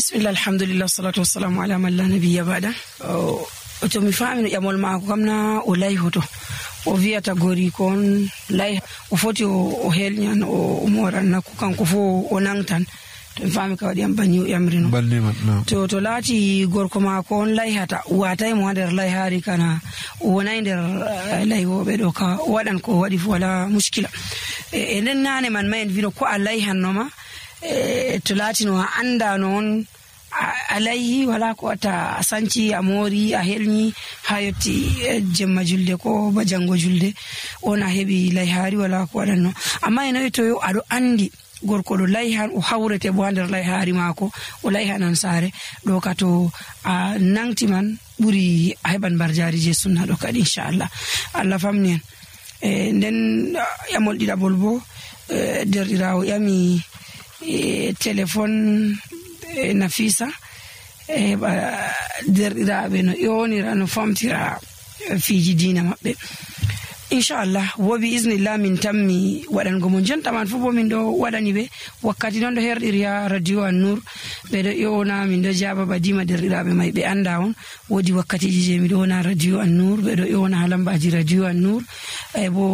bismillah alhamdulillah salatu wassalamu ala man la nabiyya ba'da. To mi faami no ƴamol maako kam na o layhoto o wiyata gori kon lay o foti o helñan o moran nakku kanko fo o nangtan to mi faami ka waɗi am banni o ƴamrino to laati gorko maako on layhata watay mo ha nder layhaari kana o wonay nder laywoɓe ɗo ka o waɗan ko waɗi fo wala muskila e nden nane man ma en wino ko a layhannoma to laati no a anda noon a layhi wala ko wata a sanci a moori a helñi ha yetti jemma julde ko ba jango julde on a heɓi layhaari wala ko waɗanno amma eno to yo aɗo andi gorko ɗo layhan o hawrete bo ha nder layhaari maako o layhanan saare ɗo ka to a nangti man ɓuri a heɓan barjari je sunna ɗo kadi inchallah Allah famni en nden ƴamol ɗiɗaɓol bo derɗirawo ƴami téléphone Nafisa heɓa derɗiraɓe no ƴonira no famtira fiji dina maɓɓe inchallah wo bi isnillah min tammi waɗango mo jontaman fo bo min ɗo waɗani ɓe wakkati noon ɗo herɗiri ha radio An-Nur ɓe ɗo ƴona min ɗo jaaba badima derɗiraɓe may ɓe anda on woodi wakkatiji je mi ɗo wona radio An-Nur ɓe ɗo ƴona ha lambaji radio An-Nur bo